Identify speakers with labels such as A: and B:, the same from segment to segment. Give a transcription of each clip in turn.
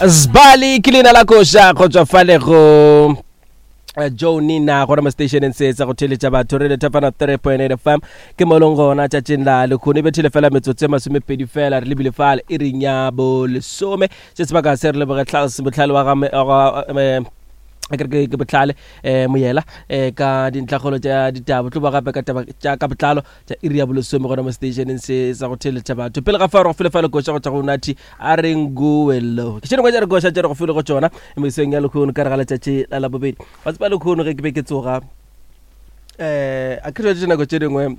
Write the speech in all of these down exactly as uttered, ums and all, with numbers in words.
A: Sbali ke leina la koša go tswa fale go eh, Joe Nina gona mo stationeng se sa go theletša batho re lethafana three point eight F M ke mo leng gona tšatšing la lekgono e bethile fela metsotso e masomepedi fela re lebile fale e reng ya bolesome se sebaka se re leboge Tlals botlhale wa ga me- wa ga, eh, a ke re ke, ke botlhale, eh, moyela, eh, ka dintlhakgolo tša ditaba tlo ba gape ka taba tša ka botlalo tša iri ya bolesome gona mo stationeng se sa go theletša batho pele ga fa re go file fa lekoša go tšwa go Nathi a re nguwelo ke tše dingwe tša dikoša tše re go file go tšona mesong ya lekgono ka re ga letšatši la labobedi wa tseba lekgono ge ke be ke tsoga eh, a ke re dinako tše dingwe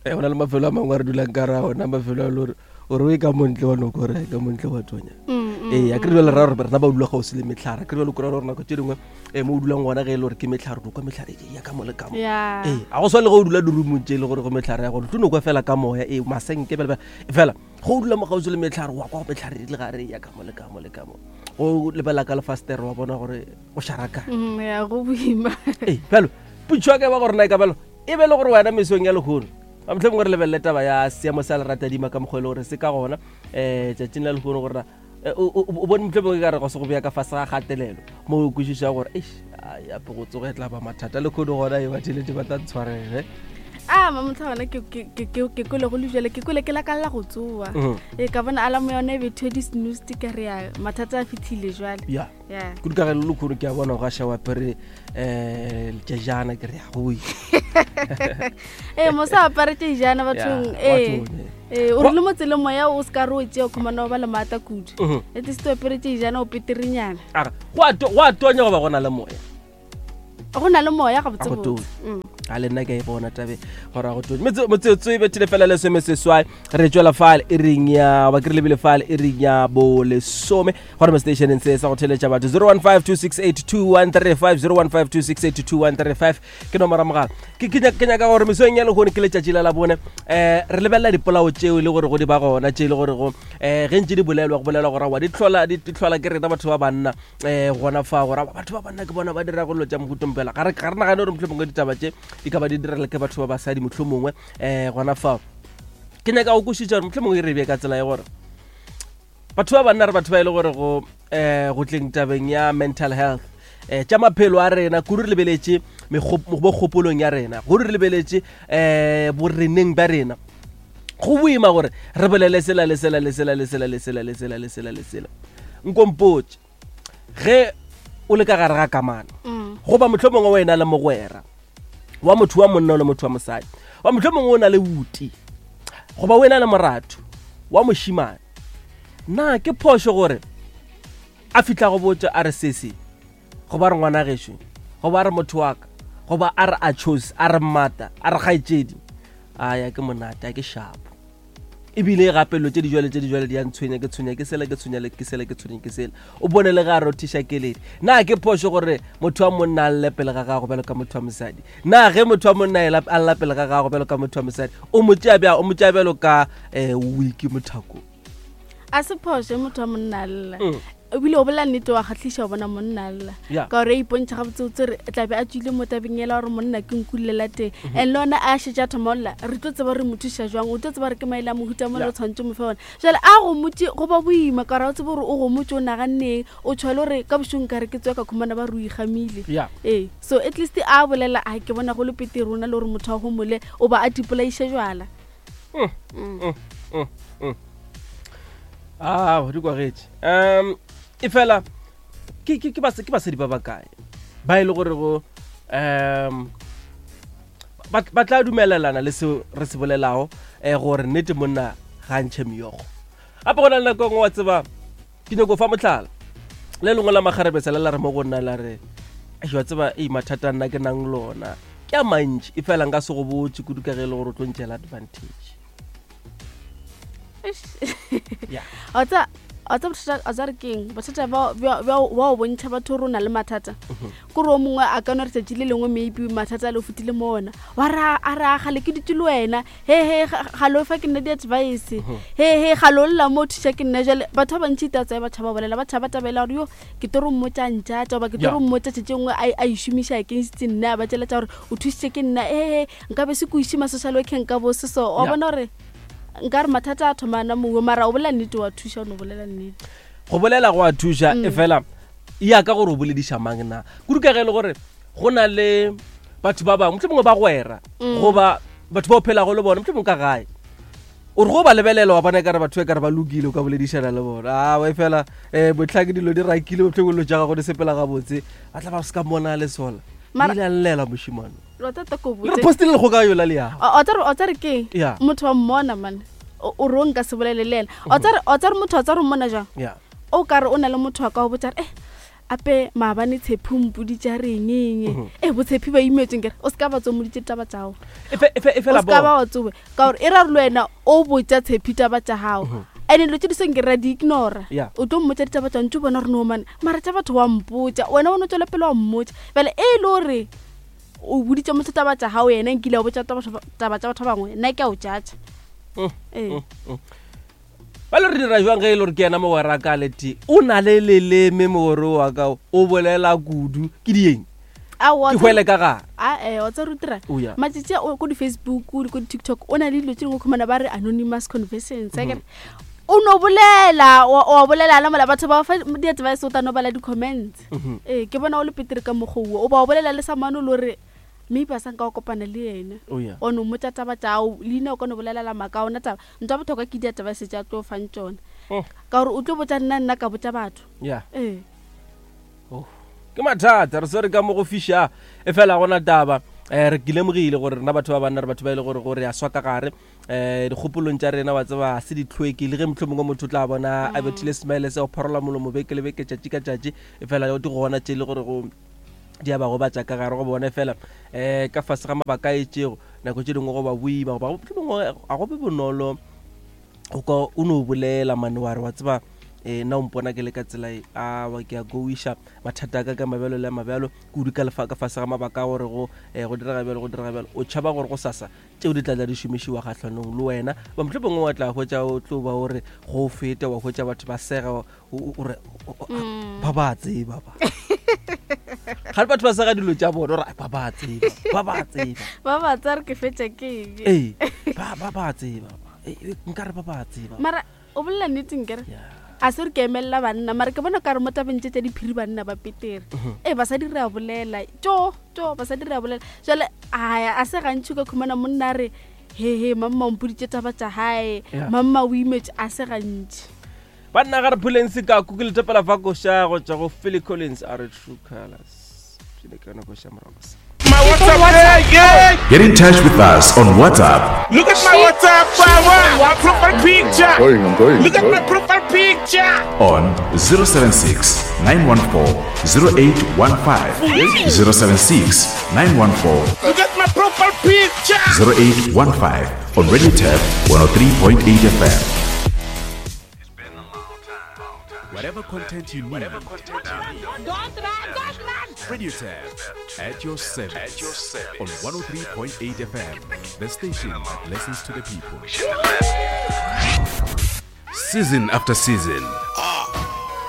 A: eh, go na le mafelo a mangwe a re dulang ka ra ona mafelo a le gore o re o e ka montle wa noko re ka montle wa tonya
B: Mm, mm,
A: ee a ke re jale ra gore rena ba dula gausi le metlhare a ke re jale o kry-a gore nako tše dingwe eh, mo o dulang gona ge e le gore ke metlhare o kwa metlhare e ya ka mo le ka mo
B: Yeah.
A: ee a go swane le ge o dula dirumong tše e le gore go metlhare ya gore tlo no kwa fela ka moya ee masenke bjale bjale fela ge o dula mo gausi le metlhare wa kwa go metlhare e le gare ya ka mo le ka mo le ka mo go lebela ka lefastere wa bona gore go šaraka
B: Mm, ya go boima
A: ee bjalo potšo ya ka e ba gore na e ka bjalo e be le gore wena mesong ya lekgono ba mohlomongwe re lebelele taba ya seemo sa leratadima ka mokgwa e le gore se ka gona um tšatšing la lekgono gore na, eh, o, o, o bone mohlomongwe ka re go se go bea ka fase ga kgatelelo mo o kwešiša gore eish, ai, ape go tsoga e tla ba mathata lekgono gona e batheletše ba tla ntshwarele
B: a mamotlha gona ke, ke, ke, ke, ke kwele go le jale ke kwele ke lakalela go tsoa
A: Mhm.
B: e ka bona alamo yone e bethiwe di-snooze ka re ya mathata a fitlhile jwale
A: ya
B: ya
A: kudu ka ge le lekgono ke a bona go gaša wa apere um letšejana ke re ya goi
B: ee mosa apare tšejana bathong
A: Ya,
B: ee
A: bathong, ee.
B: ee o rile mo tseleng moya o se ka re o tšea o khumana o ba le maata kudu
A: Mhm.
B: at least o apere tšejana o peterenyana
A: Aga, go a to- go a tonya goba go na le moya
B: go na le moya
A: A go
B: gabotsebotse
A: tonye.
B: Mm.
A: A le nna ke a e bona tabe gore a go tonye Metse- metsotso e bethile fela lesome seswai re tswela fale e reng ya ba ke re lebile fale e reng ya bolesome gona mo stationeng se sa go theletša batho zero one five two six eight two one three five zero one five two six eight two one three five ke nomoro ya mogala Ke- ke nyaka- ke nyaka gore mesong ya lekgono ke letšatši la labone um re lebelela dipolao tšeo e le gore go di ba gona tše e le gore go um ge ntše di bolelwa go bolelwa gore wa di tlhola di di tlhola ke rena batho ba banna um gona fa gore batho ba banna ke bona ba dira go dilo tša mohutompela ga re ga re nagane gore mohlomongwe ditaba tše di ka ba di direla ke batho ba basadi mohlomongwe um gona fao ke nyaka go kwešiša gore mohlomongwe e re bee ka tsela ya gore batho ba banna re batho ba e le gore go um go tleng tabeng ya mental health um tša maphelo a rena kudu re lebeletše mekgop-, mo kgopolong ya rena kudu re lebeletše um boreneng bja rena go boima gore re bolele sela le sela le sela le sela le sela le sela le sela le sela nkompotše ge o le ka gare ga kamano
B: Mm.
A: goba mohlomongwe wena le mogwera wa motho wa monna o le motho wa mosadi wa mohlomongwe o na le buti goba wena le moratho wa mošimane na ke phošo gore a fihla go botša a re sese goba re ngwana gešo goba a re motho wa ka goba a re a chose a re mmata a re kgaetšedi a ya ke monate a ke shapo ebile gape dilo tše di jwale tše di jwale di a ntshwenya ke tshwenya ke sela ke tshwenya le ke sela ke tshwenya ke sela o bone le ge a rothiša keledi na ke phošo gore motho wa monna a lle pele ga gago bjalo ka motho wa mosadi na ge motho wa monna a ela- a lla pele ga gago bjalo ka motho wa mosadi o mo tšea bjang o mo tšea bjalo ka um wiki mothako
B: a se phošo motho wa monna a lla
A: Mm.
B: ebile o bolela nnete wa kgatlhiša go bona monna a lla
A: Yeah.
B: ka gore e ipontšha gabotsebotse re tlabe a tswile mo tabeng ela gore monna ke nkulela teng
A: Mhm.
B: and le ona a šetše a thoma go lla re tlo tseba re mo thuša jwang o tlo tseba re ke maele a mohuta mo le
A: Yeah.
B: re tshwanetse mo fe ona jale a gomotse go ba boima ka gore a o tsebe gore o gomotse o naganneng o tshwale gore ka bošong ka re ke tswe ka khumana ba re o ikgamile
A: Yeah.
B: ee so at least a bolela a ke bona go le pete rona le gore motho a gomole o ba a tipolaiše jwala
A: Mm, mm, mm, mm. Ah, di kwagetše um e fela ke ke- ke bas- ke basadi ba bakae ba e le gore go um ba ba tla dumelelana le seo re se bolelago um gore nnete monna ga ntšhe meokgo gape go na le nako e nngwe wa tseba ke nyako fa motlhala le lengwe la makgarebesa le la re mo go nna la re "Eish, wa tseba ei mathata a nna ke nang lona ke a mantši e fela nka se go botse kudu ka ge e le gore o tlo ntšela advantage
B: Eish.
A: Yeah.
B: Wa tseba- wa tseba bothata wa tseba re keng bothata ba bja- bja wa o bontšha batho gore o na le mathata kore o mongwe a ka no re tšatši le lengwe maybe mathata a le o fetile mo ona wa re a re a gale ke dutse le wena he he ga- gale o fa ke nna di-advice he he gale o lla mo o thuša ke nna jale batho ba bantši tatsa ba tšhaba bolela ba tšhaba tabela gore yo ke tlo re mmotsa ntšatša goba ke tlo
A: Yeah.
B: re mmotsa tšatši nngwe a a e šomiša against nna a ba tšeletša gore o thušitše ke nna ee nka be se ko iše ma-social workeng ka bo se so wa
A: Yeah.
B: bona gore nka re mathata a thomana mongwe mara o bolela nnete wa thuša o no bolela nnete.
A: Go bolela go a thuša e fela ya ka gore o bolediša mang na. Kudu ka ge e le gore go na le batho ba bangwe mohlomongwe ba gwera goba batho ba o phelago le bona mohlomongwe ka gae. O re go ba lebelela wa bona ekare batho e kare ba lokile o ka boledišana le bona. A e fela um botlhake dilo di rakile mohlomongwe dilo tša gago di sepela gabotse ba tla ba se ka mmona le sola.
B: Mara-
A: Ile a llela mošemane.
B: Wa tseba ta ko
A: Le re
B: botse.
A: postile lekgoka yola le yago.
B: O tsare o tsare keng?
A: Yeah.
B: Motho wa mmona man. O o re o nka se bolele le ena. O tsare o tsare motho wa tsare o mmona jang?
A: Yeah.
B: O kare o na le motho wa ka o botsa re eh ape maabane Tshepi o mpoditše a reng eng e botshepi ba imetseng kere o se ka ba tsomoditše ditaba tša gago.
A: E fe- e fe- e
B: O
A: fela
B: se ka ba
A: bona.
B: wa tsobe ka gore e ra re le wena o botša Tshepi taba tša gago and dilo tše di seng ke ra di ignora.
A: Yeah.
B: O tlo mmotša ditaba tša ntse o bona gore no mane mara tša batho wa mpotša wena o no tswela pele wa mmotša bjale e le gore o boditše motho taba tša gago yena nkile wa botša taba taba tša batho ba bangwe nna ke a o judge.
A: Mm,
B: Ee.
A: Ba le re dira jwang ge e le gore ke yena mogwera ka le tee o na le leleme mogwera wa ka o bolela kudu ke dieng
B: Aowa,
A: ke hwele ka gare.
B: A eh wa tseba re dira
A: Oh, yeah.
B: matšatši a o ko di-Facebook le ko di-TikTok o na le dilo tše dingwe khumana ba re anonymous conversations akere o no bolela wa wa bolela la mola batho ba fa di-advice o tla no bala di-comments. Ee ke bona o le petere ka mokgwa oo o ba o bolela le samane o le gore maybe a sa nka wa kopana le yena.
A: Oh, yeah.
B: O no mmotša taba tša gago leina o ka no bolelela maaka ona taba ntho ya bohlokwa ke di-advice tša tlo fang tšona
A: Mm.
B: ka gore o tlo botša nna nna ka botša batho.
A: Yeah.
B: Ee.
A: Oh. Ke mathata re swere ka mo go fiša e fela gona taba um re ke lemogile gore rena batho ba banna re batho ba e le gore gore a swa ka gare um dikgopolong tša rena wa tseba se di tlhweke le ge mohlomongwe motho o tla bona a bethile smile se go phorola molomo beke le beke tšatši ka tšatši e fela di gona tše e le gore go di a ba gobatša ka gare go bone fela um ka fase ga mabaka a itšego nako tše dingwe go ba boima goba mohlomongwe ga go be bonolo go ka o no bolela mane wa re wa tseba um nna o mpona ke le ka tsela e awa ke a goiša mathata a ka ka mabjalo le a mabjalo kudu ka lefa ka fase ga mabaka a gore go um go direga bjalo go direga bjalo o tšhaba gore go sasa tšeo di tla tla di šomišiwa kgahlanong le wena ba mohlomongwe wa tla hwetša o tlo ba o re go feta wa hwetša batho ba sega o- o o re o- o- ba ba tseba ba ga le batho ba sega dilo tša bona ore ba ba tseba ba ba tseba
B: Ba ba tsaya re ke fetša ke eng.
A: ee ba ba ba tseba ba. Ee, ee, nkare ba ba tseba
B: Mara o bolela nnete nkere
A: Yeah.
B: a se re ke emelela banna mara ke bona kare mo tabeng tše tša diphiri banna ba petere. Ee basadi re a bolela tjo tjo basadi re a bolela jwale a a se gantši o ka khumana monna a re he he mamma o mpoditše taba tša hae
A: Yeah.
B: mamma o imetse a se gantši.
A: Banna ga re phuleng sekaku ke letopela fa koša go tšwa go Philly Collins a re True Colors pele ka yona koša morago sa.
C: My WhatsApp, yeah, yeah.
D: Get in touch with us on WhatsApp
C: Look at my WhatsApp, power. My profile picture.
E: Going, I'm going.
C: Look at
E: I'm
C: my
E: going.
C: profile picture.
D: on zero seven six nine one four zero eight one five. zero seven six nine one four
C: Look at my profile picture.
D: zero eight one five on Radio Turf one oh three point eight F M. Whatever content you need. Radio Turf at your service. At your service. On one oh three point eight F M, the station that listens to the people. Season after season,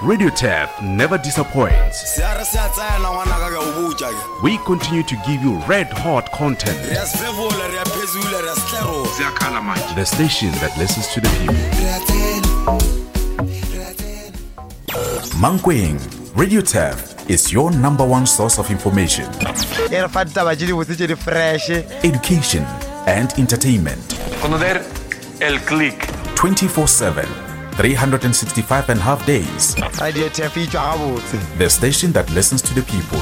D: Radio Turf never disappoints.
F: Se a re se a tsena ngwanaka ke a o botša ke.
D: We continue to give you red hot content.
F: Re a sefefola, re a phezula, re a setlerola.
D: The station that listens to the people.
F: Re a tsena. Re a tsena.
D: Mankweng, Radio Turf is your number one source of information,
G: e re fa ditaba tše dibotse tše di fresh.
D: education, and entertainment.
H: Conocer el click.
D: twenty-four seven, three hundred sixty-five and a half days.
G: Radio Turf e tšwa gabotse.
D: The station that listens to the people.